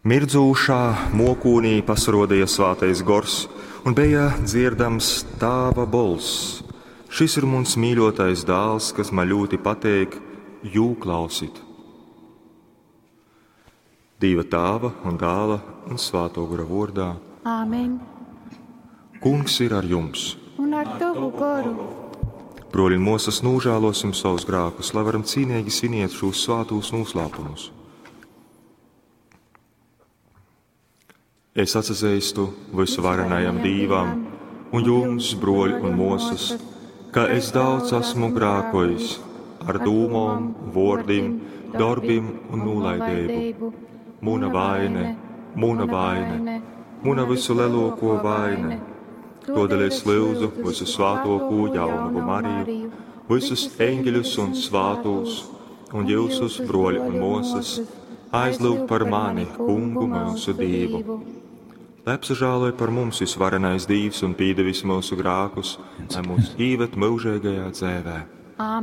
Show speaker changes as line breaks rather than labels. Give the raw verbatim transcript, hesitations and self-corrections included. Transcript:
Mirdzūšā mokūnī pasaruodīja Svātais Gors un beja dzierdams Tāva bolss: Šis ir muns mīļotais dāls, kas man ļoti pateik, jū klausit. Dīva Tāva un Dāla un Svāto Gora vordā.
Āmen.
Kungs ir ar jums.
Un ar tavu goru.
Broļi un mosas, nožēlosim savus grēkus, lai varam cīnīgi sviniet šos svātos noslēpumus. Es atzīstu visuvarenajam Dīvam un jums, broļi un mosas, ka es daudz esmu grēkojis ar dūmom, vordim, darbim un nolaidību. Muna vaine, muna vaine, muna visu lielāko vaine. Todēļ es lūdzu visu svātoko jaunavu Mariju, visus eņģeļus un svātos, un jūsus, broļi un mosas, aizlūgt par mani, kungu mūsu Dievu. Lai apsažāloja par mums visvarenais Dievs un pīdevis mūsu grākus, lai mūs īved mūžīgajā dzēvē.
Āmen.